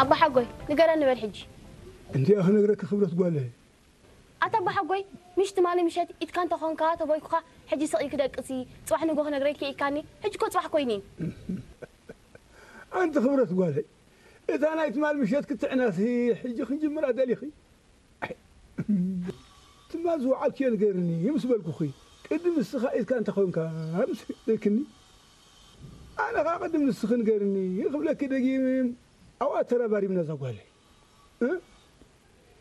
ኣቦሓጎይ፣ ንገረኒ በል ሕጂ። እንቲኣ ክነግረኪ ክብረት ጓለይ። ኣታ ኣቦሓጎይ፣ ምሽ ትማሊ ምሸት ኢድካ እንተኾንካ ተቦይኩኻ፣ ሕጂ ስቕ ኢልኪ ደቅሲ፣ ጽባሕ ንጎ ክነግረኪ ኢልካኒ። ሕጂ እኮ ጽባሕ ኮይኒ። ኣንቲ ክብረት ጓለይ፣ እታ ናይ ትማል ምሸት ክትዕናሲ ሕጂ ክንጅምራ ደሊኺ? ትማል ዝወዓልክዮ ንገርኒ ምስ በልኩኺ፣ ቅድም ንስኻ ኢድካ እንተኾንካ ምስ በልክኒ፣ ኣነ ኸዓ ቅድም ንስኺ ንገርኒ ክብለኪ ደጊም ኣብኣ ተራባሪብና እዛ ጓለይ። እ?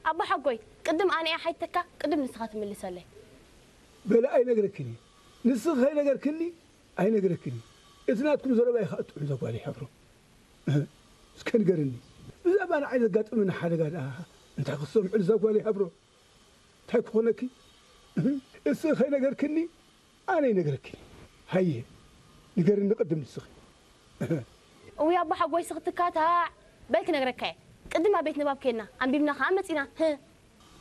ኣቦሓጎይ፣ ቅድም ኣነ እየ ሓይተካ፣ ቅድም ንስኻ ትምልሰለይ። በለ ኣይነግረክን እየ። ንስኺ ከይነገርክኒ ኣይነግረክን እየ። እቲ ናትኩም ዘረባ እዩ ኸዓ ጥዑም እዛ ጓለይ ሓብሮ። እህ፣ እስከ ንገርኒ። ብዛዕባ ንዓይ ዘጋጠመኒ ሓደጋ ደኣ እንታይ ክትሰምዑ እዛ ጓለይ ሓብሮ? እንታይ ክኾነኪ? እህ፣ እስኺ ከይነገርክኒ ኣነ ይነግረኪ። ሃየ፣ ንገርኒ ቅድም ንስኺ። እውይ ኣቦሓጎይ፣ ስኽትካ ታዕ በል ክነግረካ እየ። ቅድም ኣብ ቤት ንባብ ከድና፣ ኣንቢብና ኸዓ መጺና። ህ።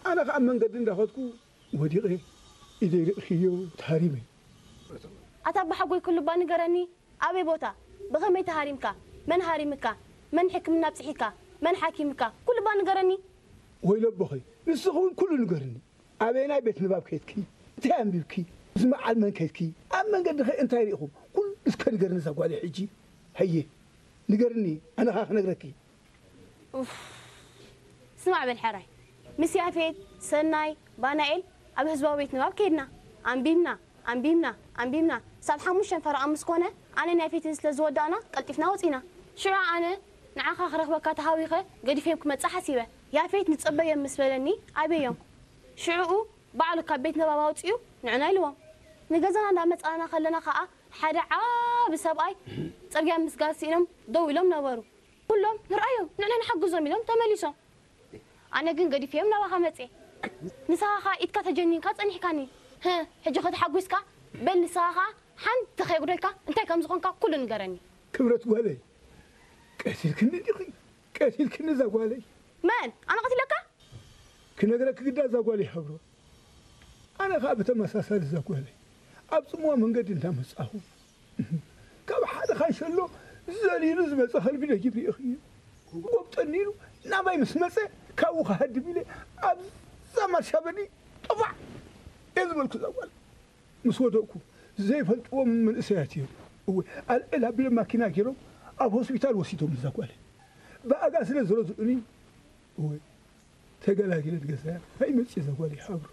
ኣነ ኸዓ ኣብ መንገዲ እንዳኸድኩ ወዲቐ፣ ኢደይ ሪእኽዮ፣ ተሃሪመ። ኣታ ኣቦሓጎይ ኩሉ እባ ንገረኒ። ኣበይ ቦታ? ብኸመይ ተሃሪምካ? መን ሃሪምካ? መን ሕክምና ኣብጺሒካ? መን ሓኪምካ? ኩሉ እባ ንገረኒ። ወይለ ኣቦኸይ፣ ንስኺ እውን ኩሉ ንገርኒ። ኣበየናይ ቤት ንባብ ከይድኪ? እንታይ ኣንቢብኪ? ምስ መዓል መን ከይድኪ? ኣብ መንገዲ ኸ እንታይ ርኢኹም? ኩሉ እስከ ንገርኒ እዛ ጓለይ ሕጂ። ሃየ፣ ንገርኒ፣ ኣነ ኸዓ ክነግረኪ። ኡፍ። ስማዕ በል ሕራይ፣ ምስ ያፌት፣ ሰናይ፣ ባናኤል ኣብ ህዝባዊ ቤት ንባብ ከይድና። ኣንቢብና፣ ኣንቢብና፣ ኣንቢብና። ሳብ ሓሙሽተ ፈረቓ ምስ ኮነ፣ ኣነን ያፌትን ስለ ዝወዳእና፣ ቀልጢፍና ወጺና። ሽዑ ኣነ ንዓኻ ክረኽበካ ተሃዊኸ ገዲፈዮም ክመጽእ ሓሲበ። ያፌት ንጸበዮም ምስ በለኒ፣ ኣበዮም። ሽዑኡ ባዕሉ ካብ ቤት ንባብ ኣውጺኡ ንዕና ኢልዎም። ንገዛና እንዳመጻና ከለና ከኣ ሓደ ዓቢ ሰብኣይ ጽርግያ ምስጋር ስኢኖም ደው ኢሎም ነበሩ። ኩሎም ንርኣዮም፣ ንዕና ንሓግዞም ኢሎም ተመሊሶም። ኣነ ግን ገዲፈዮም ናባኻ መጽየ። ንስኻ ከኣ ኢድካ ተጀኒንካ ጸኒሕካኒ። ህ፣ ሕጂ ኸ ተሓጒስካ? በል ንስኻ ከኣ ሓንቲ ከየጉደልካ እንታይ ከም ዝኾንካ ኩሉ ንገረኒ። ክብረት ጓለይ፣ ቀቲልክኒ ዲኺ? ቀቲልክኒ እዛ ጓለይ። መን? ኣነ ቀቲለካ? ክነግረኪ ግዳ እዛ ጓለይ ሓብሮ። ኣነ ኸዓ ብተመሳሳሊ እዛ ጓለይ ኣብ ጽምዋ መንገዲ እንዳመጻኹ፣ ካብ ሓደ ካንሸሎ ዘሊሉ ዝመጸ ከልቢ ደጊም ርኢኽዮ። ጎብጠኒ ኢሉ ናባይ ምስ መጸ፣ ካብኡ ክሃድም ኢለ ኣብዛ ማርሻ በዲ ጥፋዕ እየ ዝበልኩ እዛ ጓል። ምስ ወደቕኩ፣ ዘይፈልጥዎም መንእሰያት እዮም። እወ፣ ኣልዕል ኣቢሎም ማኪና ገይሮም ኣብ ሆስፒታል ወሲዶም እዛ ጓለይ። ብኣጋ ስለ ዝረድኡኒ፣ እወ፣ ተገላጊለ ንገዛያ። እንታይ መጺእ እዛ ጓለይ ሓብሮ።